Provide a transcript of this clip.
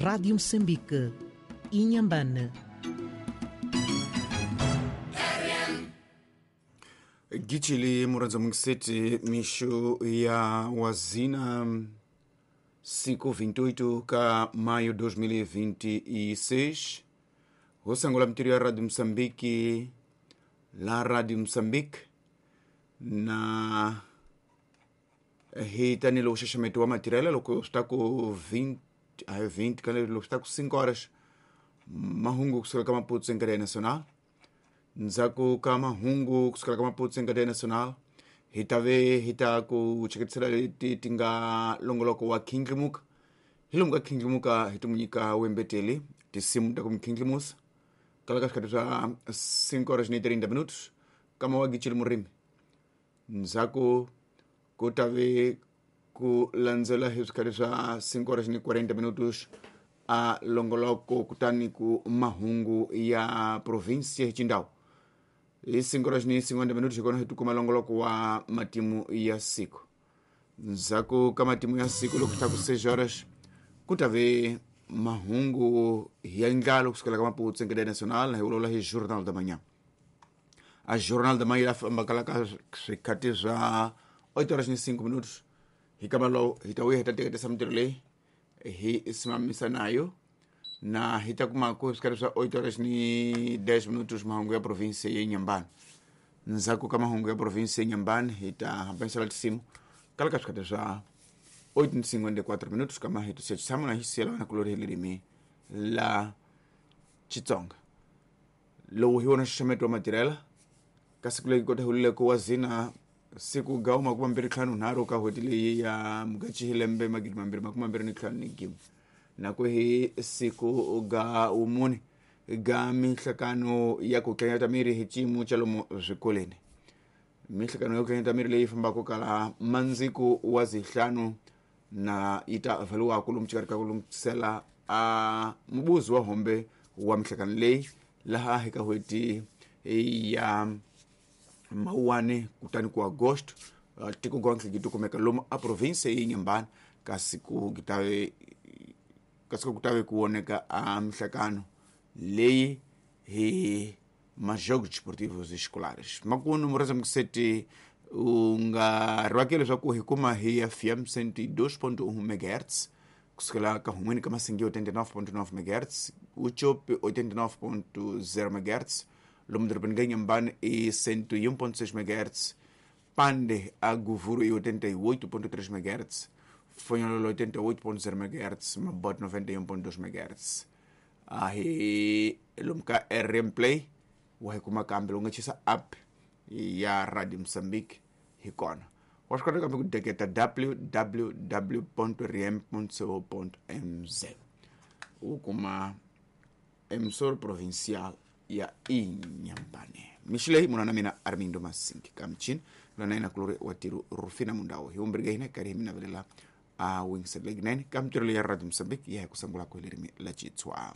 Rádio Moçambique, Inhambane. Gichili muranza mungiseti mixo ya wazina siku 28 ka maio 2026 hosangola mtiri ya Radio Msambiki la Radio Msambiki na hitanile uxaxameto wa matirela loko swi ta ku 20 a 20 kale loko swi ta ku 5 horas mahungu kusukela ka Maputo em cadeia nacional. Ndzhaku ka mahungu kusukela ka Maputo em cadeia nacional hi ta ve hi ta ku cheketisela leti ti nga longoloko wa khindlimuka. Hi lomu ka khindlimuka hi ti mu nyika wembeteli tinsimu ta ku mi khindlimusa kala ka swikhati swa 5 horas ni 30 minutos kama wa gichili murimi. Ndzhaku ku ta ve ku landzela hi swikhati swa 5 horas ni 40 minutos a longoloko kutani ku mahungu ya provinsia hi xindhawu. Hi 5 horas ni 50 minutos hi kona hi tikuma longoloko wa matimu ya siku. Ndzhaku ka matimu ya siku loko ta ku 6 horas ku ta ve mahungu ya ndlalo kusukela ka Maputo em cadeia nacional hi vulavula hi Jornal da Manhã. A Jornal da Manhã famba kala ka swikhati swa 8 horas ni 5 minutos. Hi kama lowu hi ta vuya hi ta teketisa mintirho leyi hi simamisa nayo na hi ta kuma ku swikhati swa 8 horas ni 10 minutos mahungu ya provinsia ya Inhambane. Ndzhaku ka mahungu ya provinsia ya Inhambane hi ta hambanisela tinsimu kala ka swikhati swa 8:54 minutos kama hi tusiya tshama na hi siyela vana kulori hi ririmi la Xitsonga. Lowu hi wona nxaxameto wa matirhela ka siku leyi kota hulileko wa zina siku ga 2053 ka n'hweti leyi ya Mugachi hi lembe 2025 na ku hi siku ga wumune ga mihlakano ya ku tlanyata miri hi xiyimo xa lomu swikolweni. Mihlakano ya ku tlanyata miri leyi fambaka kala mandziku wa zihlanu na yi ta vhaliwaku lomu xikarhi ka ku lunghisela a mubuzi wa hombe wa mihlakano leyi laha hi ka n'hweti ya Mawuwani kutani ku Agosto tiko gontle gi tikumeka lomu a provinsia ya Inhambane kasi ku kasi ku tave ku voneka a mihlakano leyi hi majogos desportivos escolares. Makunu mureza mukiseti u nga riwake leswaku hi kuma hi FM 102.1 MHz kusukela ka hun'wini ka Masingi 89.9 MHz, Uchopi 89.0 MHz, lomu dorobeni ka Inhambane i 101.6 MHz, Pande a Govuro i 88.3 MHz, Fonhololo 88.0 MHz, Mabote 91.2 MHz. A hi lomu ka RM Play wa hi kuma kambe lowu nga chisa app ya Radio Mozambique hi kona. Wa swi kota kambe ku deketa www.rm.co.mz u kuma emissora provincial ya Inhambane. Mixo leyi munhu na mina Armindo Masingi ka michini lona yena kulori wa tiro Rufina Mundawo hi umbirhi hina karhi hi mi navelela a wingisela leyi 9 ka mintirho leyi ya Radio Mozambique ya hi ku sungula ku hi ririmi la Xitsonga.